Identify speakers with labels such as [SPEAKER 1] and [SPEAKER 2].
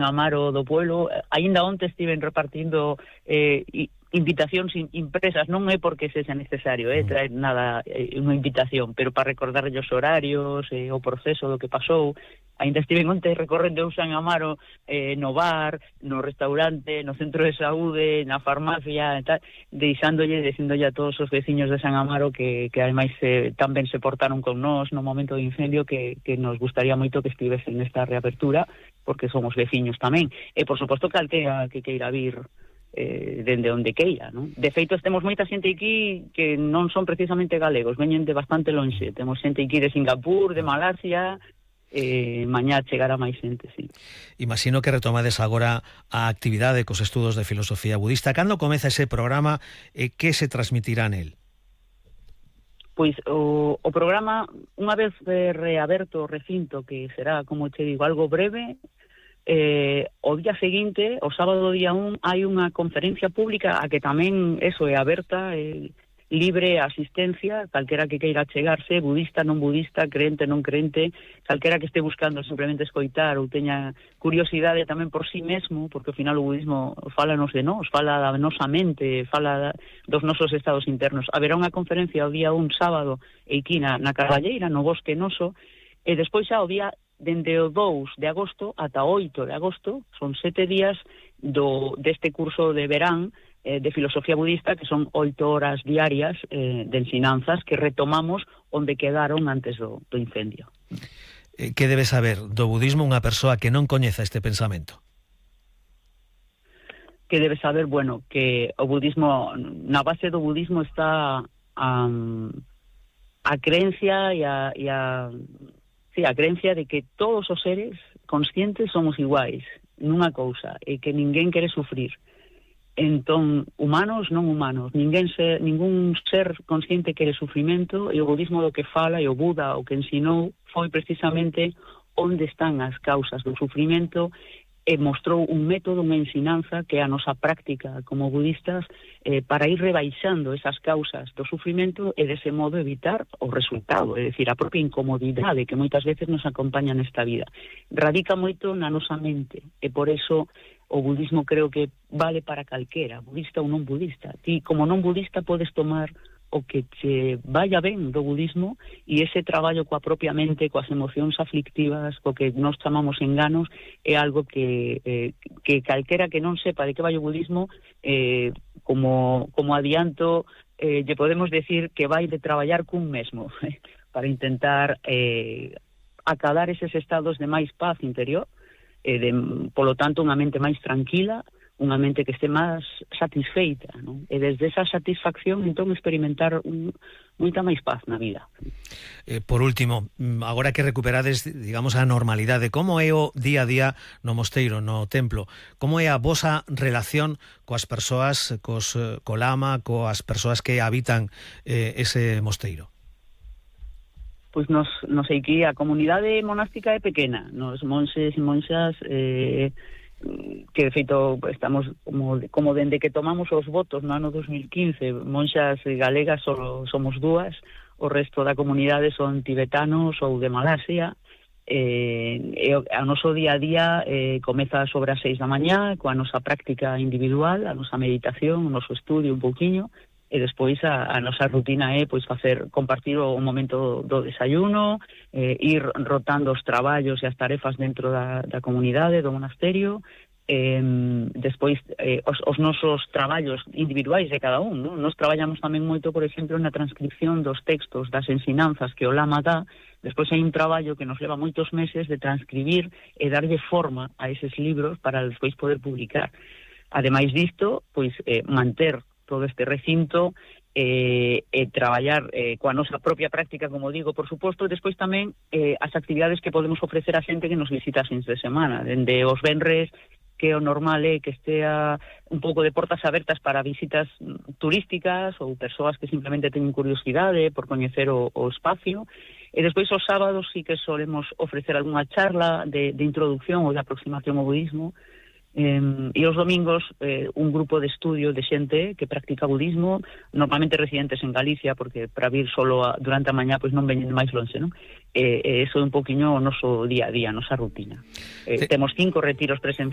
[SPEAKER 1] Amaro do pueblo. Aínda onte estiven repartindo invitacións impresas, non é porque sexa necesario traer nada, unha invitación, pero para recordarlle os horarios, o proceso do que pasou. Aínda estiven onte recorrendo o San Amaro no bar, no restaurante, no centro de saúde, na farmacia e tal, dicíndolle a todos os veciños de San Amaro que ademais tamén se portaron con nós no momento do incendio, que nos gustaría moito que estivesen nesta reapertura, porque somos veciños tamén. E por suposto calquera que queira vir dende onde queira, non? De feito, temos moita xente aquí que non son precisamente galegos, veñen de bastante lonxe. Temos xente aquí de Singapur, de Malasia, mañá chegará máis xente, sí.
[SPEAKER 2] Imagino que retomades agora a actividade cos estudos de filosofía budista. Cando comeza ese programa e que se transmitirá nel?
[SPEAKER 1] Pois o programa, unha vez reaberto o recinto, que será, como che digo, algo breve, o día seguinte, o sábado día 1, hai unha conferencia pública a que tamén é aberta, libre asistencia, calquera que queira chegarse, budista, non budista, creente, non creente, calquera que este buscando simplemente escoitar ou teña curiosidade tamén por sí mesmo, porque ao final o budismo fálanos de nós, fala da nosa mente, fala dos nosos estados internos. Haberá unha conferencia o día 1 sábado aquí na Carballeira, no Bosque Noso, e despois xa o día dende o 2 de agosto ata o 8 de agosto, son 7 días deste curso de verán de filosofía budista, que son 8 horas diarias de ensinanzas que retomamos onde quedaron antes do incendio.
[SPEAKER 2] Que debe saber do budismo unha persoa que non coñeza este pensamento?
[SPEAKER 1] Que debe saber, bueno, que o budismo, na base do budismo está a creencia a creencia de que todos os seres conscientes somos iguais nunha cousa, e que ninguén quere sufrir. Entón, humanos, non humanos, ningún ser consciente quere sufrimento, e o budismo do que fala, e o Buda o que ensinou, foi precisamente onde están as causas do sufrimento, e mostrou un método, unha ensinanza, que é a nosa práctica como budistas, para ir rebaixando esas causas do sufrimento e dese modo evitar o resultado, é dicir, a propia incomodidade que moitas veces nos acompaña nesta vida. Radica moito na nosa mente, e por eso o budismo creo que vale para calquera, budista ou non budista. Ti, como non budista, podes tomar o que che vaya ben do budismo, e ese traballo coa propia mente, coas emocións aflictivas, co que nós chamamos enganos, é algo que calquera que non sepa de que vai o budismo, como adianto, lle podemos decir que vai de traballar cun mesmo, para intentar acadar eses estados de máis paz interior, polo tanto, unha mente máis tranquila, unha mente que este máis satisfeita, non? E desde esa satisfacción, entón, experimentar moita máis paz na vida.
[SPEAKER 2] Por último, agora que recuperades, digamos, a normalidade, como é o día a día no mosteiro, no templo? Como é a vosa relación coas persoas, co lama, coas persoas que habitan ese mosteiro?
[SPEAKER 1] Pois nos aquí, a comunidade monástica é pequena, nos monxes e monxas, que de feito estamos como dende que tomamos os votos no ano 2015, monxas galegas só somos 2, o resto da comunidade son tibetanos ou de Malasia, e o noso día a día comeza sobre as 6 da mañá coa nosa práctica individual, a nosa meditación, o noso estudio un pouquiño, e despois a nosa rutina é compartir o momento do desayuno, ir rotando os traballos e as tarefas dentro da comunidade, do monasterio, despois os nosos traballos individuais de cada un, non? Nos traballamos tamén moito, por exemplo, na transcripción dos textos das ensinanzas que o Lama dá. Despois hai un traballo que nos leva moitos meses de transcribir e darlle forma a eses libros para despois poder publicar. Ademais disto, pois manter todo este recinto e traballar coa nosa propia práctica, como digo, por suposto, e despois tamén as actividades que podemos ofrecer a xente que nos visita as fins de semana, dende os venres, que o normal é que estea un pouco de portas abertas para visitas turísticas ou persoas que simplemente teñen curiosidade por coñecer o espacio, e despois os sábados sí que solemos ofrecer algunha charla de introducción ou de aproximación ao budismo, E os domingos un grupo de estudio de xente que practica budismo, normalmente residentes en Galicia, porque para vir solo durante a mañá pois non veñen máis lonxe, non? Eso é un poquinho o noso día a día, a nosa rutina. Temos 5 retiros presenciais